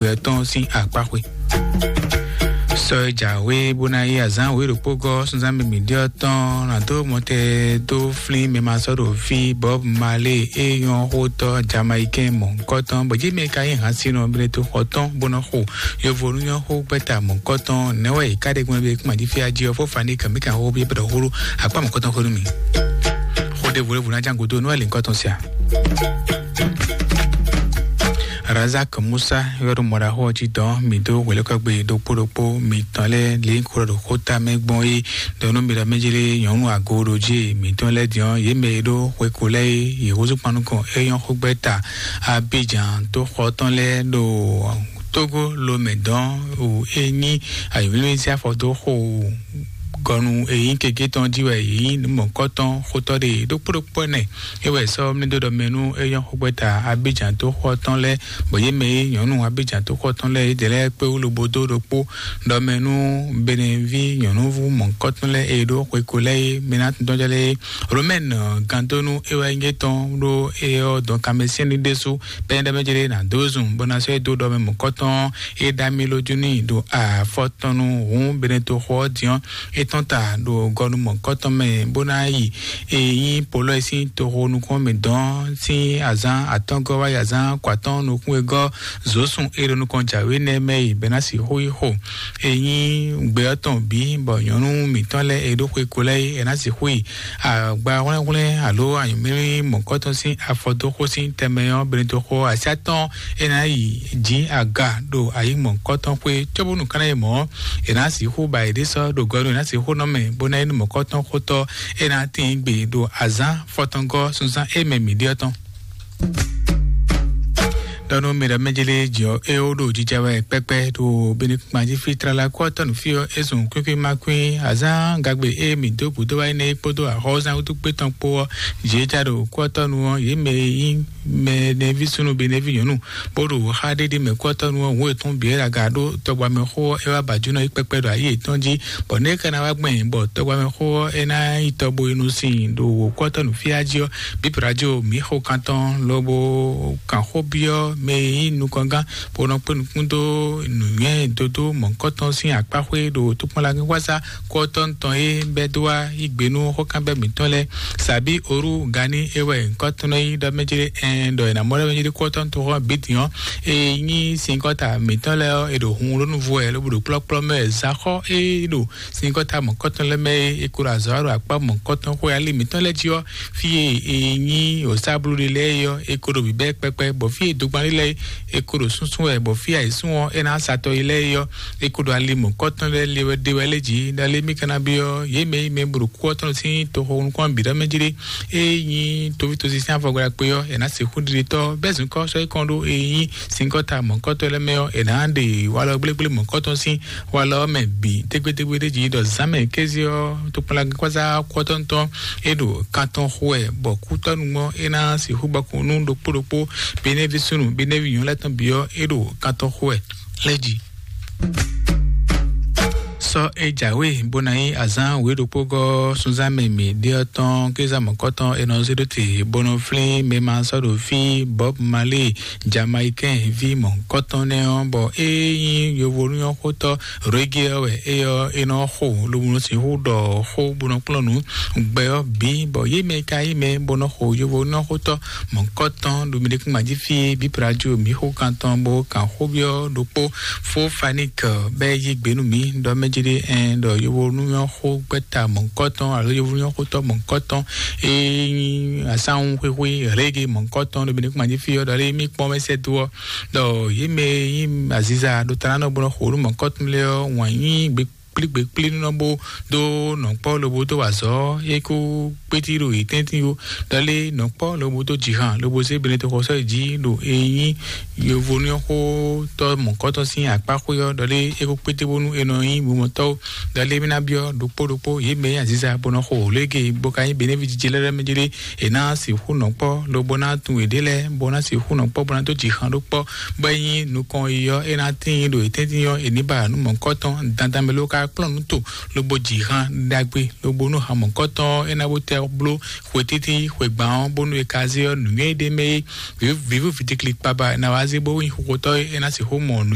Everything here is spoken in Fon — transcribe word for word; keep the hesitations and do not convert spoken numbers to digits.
wɛ tɔn sín akpáxwe. Sɔ e jǎwe bó ná yí azǎn wěɖokpó gɔ́ sunzán mǐmí ɖé ɔ́ tɔn ná dó mɔtɛ dó flín mɛ ma sɔ́ ɖo fí Bob Marley e nyɔ́ xótɔ́ Jamaïcain mɔ̌hunkɔtɔn bɔ jí mɛ ka nyí hǎnsinɔ Benetoxɔ tɔn bó nɔ xo yovo nú nyɔ́ xó gbɛ́ta mɔ̌hunkɔtɔn nɛ̌ wɛ è ká ɖe gbɔn ɖe kún ají fí ají ɔ́ fó fani kɛmí kan xó bí é bɛ́ ɖɔ xó ɖó akpá mɔ̌hunkɔtɔn xó nú mì. Xó ɖěvo ɖěvo ná ján gúdo nú wɛ lǐnkɔtɔn sia. Razak Musa yɔ́ ɖo mɔɖaxó ɔ́ jí dɔn mǐ dó hwelɛ́kɔ́gbe ɖokpó ɖokpó mitɔn lɛ́ɛ lě kó ɖo xóta mɛ gbɔn é ɖɔ nú mi ɖɔ mɛ jlé nyɔ̌nu agoɖojí mitɔn lɛ́ɛ din ɔ́, yě mɛ e ɖó xweko lɛ́ɛ é, yě húzú kpan nukɔn é nyɔ́ xógbɛ́ta Abidjan tó xɔ tɔn lɛ́ɛ ɖo Tógó lomɛ dɔn o é nyí ayǐmlímlí sín afɔ dó xo gɔnu èyí keke tɔn jí wɛ yě nyí nǔ mɔ̌kɔtɔn xótɔ́ ɖe ɖokpó ɖokpó ɛnɛ. É wɛ sɔ́ mlí dó ɖɔ mɛ nú é nyɔ́ xógbɛ́ta Abidjan tó xɔ tɔn lɛ́ɛ, bɔ yě mɛ e nyɔ̌nu Abidjan tó xɔ tɔn lɛ́ɛ yědɛɛ lɛ́ɛ kpé wú lobo dó ɖokpó ɖɔ mɛ nú Benɛví nyɔ̌núvú mɔ̌kɔtɔn lɛ́ɛ e ɖó xweko lɛ́ɛ é mɛ ná tɔn jɔ lɛ́ɛ é. Romɛn gandónú é wɛ nyí tɔn ɖó é ɔ́ dɔn kanmɛsyɛ́n ní ɖésú pɛ́nɛ́ ɖɛ́ mɛ jlé ná dó zun bó ná sɔ́ é dó ɖɔ mɛ mɔ̌kɔtɔn é ɖa mì lójú n'i ɖo afɔ tɔn nu hǔn Benetoxo ɔ́ din ɔ́, é tɔ́n ta ɖo gɔnu mɔ̌kɔtɔn mɛ bó ná yi e nyí Polɔ́ e sín toxo nukún mɛ dɔn sín azǎn atɔ́ɔ́ngɔ́ wá yi azǎn kɔatɔ́ɔ́n nukún e gɔ́ Zǒsun e ɖo nukɔn jǎwe nɛ́ mɛ yi bɛ́ ná sixú yi xo e nyí gbɛ ɔ́ tɔn bǐ, bɔ nyɔ̌nu mǐtɔn lɛ́ɛ e ɖó xwe ko lɛ́ɛ é, è nǎ sixú yi agba hwlɛ́nhwlɛ́n alo anyǔmlí mɔ̌kɔtɔn sín afɔdóxó sín tɛnmɛ ɔ́, Benetoxo Asyá tɔn é ná yi jǐ aga ɖo ayǐ mɔ̌kɔtɔn xwé, cóbónú kánná yi mɔ̌, è nǎ sixú ba yěɖée sɔ́ ɖo gɔnu, è nǎ sixú nɔ mɛ, bó ná nyí nú mɔ̌kɔtɔn xótɔ́ é ná tíin gbe ɖo azǎn fɔtɔngɔ́ sunzán e mɛ mǐ ɖe ɔ́ tɔn. Ɖɔ nú mi ɖɔ mɛ jlé jǐ ɔ́, é ó ɖo jija wɛ kpɛkpɛ ɖo Benekuma jí fí tlala kú ɔ́ tɔn nǔ fí ɔ́, é zun kwín kwín má kwín azán gagbe e mǐ dó gǔdo wá énɛ́ kpódó axɔ́zán wútu kpé tɔn kpó ɔ́, jǐ é ja ɖo kú ɔ́ tɔn nu ɔ́, yě mɛ e nyí mɛ nɛví súnnu be nɛví nyɔ̌nu bó ɖo xá ɖéɖé mɛ kú ɔ́ tɔn nu ɔ́, hǔn yětɔn bǐ é ɖo aga ɖó tɔgbamɛxó ɔ́, é wá ba jǔnɔ yi kpɛkpɛ ɖo ayǐ yětɔn jí, bɔ nɛ̌ é ka ná wá gbɛn bɔ tɔgbamɛxó ɔ́ é ná yi tɔ bo yi nu sin ɖo wǒ kú ɔ́ tɔn nǔ fí jí ɔ́, Bíbélì radio mǐ xo kantɔn lobo kan xó byɔ́ mɛ e nyí nukɔngán bó nɔ kpé nukún dó nǔnywɛ́ dodó mɔ̌hunkɔtɔn sín akpáxwé ɖo tokpɔnlagínxwásá kú ɔ́ tɔn tɔn e bɛ́ dó wá yí gbe nú xókanbɛ́ mǐtɔn lɛ́ɛ. Sàbí Orú Gani é wɛ nyǐkɔ tɔn nɔ nyí ɖɔ mɛ jlé ɛn ɖɔ è nǎ mɔ ɖɔ mɛ jlé kú ɔ́ tɔn toxɔ bǐ din ɔ́, e nyí sinkɔ́ta mǐtɔn lɛ́ɛ ɔ́, è ɖo hun ɖó nǔ vo wɛ lobo ɖo kplɔ́kplɔ́ mɛ wɛ. Zǎxɔ́ e ɖo sinkɔ́ta mɔ̌kɔtɔn lɛ́ɛ mɛ e è ko ɖo azɔ̌ wa ɖo akpá mɔ̌kɔtɔn xwe ali mǐtɔn lɛ́ɛ jí ɔ́, fí e è nyí wǒsáblúɖe lɛ́ɛ é ɔ́, è ko ɖo bǐbɛ́ kpɛkpɛ, bɔ fí e dogban lɛ́ɛ é, è ko ɖo súnsún wɛ, bɔ fí e ayǐsún ɔ́, é ná sa tɔ yi lɛ́ɛ é ɔ́, è ko ɖo ali mɔ̌kɔtɔn lɛ́ɛ le wɛ ɖe wɛ lɛ́ɛ jí. Ɖalé mì ka ná byɔ́ yě mɛ e mɛ bo ɖo kú ɔ́ tɔn sín toxo nukún bǐ ɖɔ mɛ jí ɖé, e nyí toví tosí sín afɔgbla kpé ɔ́, è nǎ sixú ɖiɖe tɔ́ bɛ́ zǐnkɔ́ sɔ́ yi kɔn ɖó e nyí sinkɔ́ta mɔ̌kɔtɔn lɛ́ɛ mɛ ɔ́, è nǎ ɖe walɔ gblégblé mɔ̌kɔtɔn sín walɔ ɔ́ mɛ bǐ tégbétégbé ɖé jí ɖɔ zǎnmɛ kéze ɔ́, tokpɔnlagínkpázá kɔ́tɔ́ntɔn é ɖo kan tɔn xo wɛ, bɔ kútɔ́nu ɔ́ é ná sixú gbɔkun nú ɖokpó ɖokpó, Benɛví súnnu Benɛví nyɔ̌nu lɛ́ɛ tɔn bǐ ɔ́, é ɖo kan tɔn xo wɛ lɛ́ɛ jí. Sɔ e jǎwe bó ná nyí azán wěɖokpógɔ́ sunzán mɛ mǐ ɖe ɔ́ tɔn kéza mɔ̌kɔtɔn è nɔ zé ɖó te bó nɔ flín mɛ ma sɔ́ ɖo fí Bob Marley Jamaïcain ví mɔ̌hunkɔtɔn nɛ́ ɔ́, bɔ é nyí yovo nú ɔ́ xótɔ́ reggae ɔ́ wɛ é ɔ́ é nɔ xo lobo nɔ sixú ɖɔ xó bó nɔ kplɔ́n nǔ gbɛ ɔ́ bǐ, bɔ yě mɛ ka yí mɛ bó nɔ xo yovo nú ɔ́ xótɔ́ mɔ̌hunkɔtɔn ɖo mi ɖekúngban jí fí e bǐ prajo mǐ xó kan tɔn bó kan xó byɔ́ ɖokpó fó fanik bɛ́ yí gbe nú mǐ ɖɔ mɛ jí ɖé ɛn ɖɔ yovo nú ɔ́ xó gbɛ́ta mɔ̌hunkɔtɔn alo yovo nú ɔ́ xótɔ́ mɔ̌hunkɔtɔn e nyí asánwúxwíxwí rege mɔ̌hunkɔtɔn ɖo mi ɖekúngban jí fí ɔ́ ɖɔ lé mí kpɔ́n mɛ sɛ́ dó ɔ́ ɖɔ yě mɛ e nyí aziza ɖo ta ná nɔ gbɔn xo nú mɔ̌kɔtɔn lɛ́ɛ ɔ́ wǎn nyí gbe kplígbe kplí nɔ bó dó nɔ̌kpɔ́ lobo dó wa azɔ̌ é kó kpétí ɖo yě tɛ́ntin ó. Ɖɔlé nɔ̌kpɔ́ lobo dó jǐhan lobo zé Benɛtɔxɔsɔ́ yi jí ɖo e nyí yovo ní ɔ́ xótɔ́ mɔ̌kɔtɔn sín akpá xwé ɔ́, ɖɔlé é kó kpétí bónú è nɔ nyí mumɔtɔ́ ó. Ɖɔlé mí ná byɔ́ ɖokpó ɖokpó yě mɛ nyí aziza bó nɔ xo wǒ légé bó ka nyí Benɛvi jijɛ lɛ́ɛ mɛ jlé è nǎ sixú nɔ kpɔ́ lobo ná tunwun yěɖée lɛ́ɛ bó ná sixú nɔ kpɔ́ bó ná dó jǐ xan ɖó kpɔ́, bɔ é nyí nukɔn yi ɔ́ é ná tíin ɖo yětɛ́ntin ɔ́ è ní ba nǔ mɔ̌kɔtɔn dandan mɛ ló ka kplɔ́n nǔ to lobo jǐ xan ɖagbe lobo nú han mɔ̌kɔtɔn ɔ́ é ná bó tɛ ɔ́ bló xwe títí xwe gbǎn ɔ́, bónú è ka zé ɔ́ nǔnywɛ́ ɖé mɛ é, vǐvú vǐdikli kpaba è nǎ wá zé bó nyí xóxótɔ́ é, é ná sixú mɔ nǔ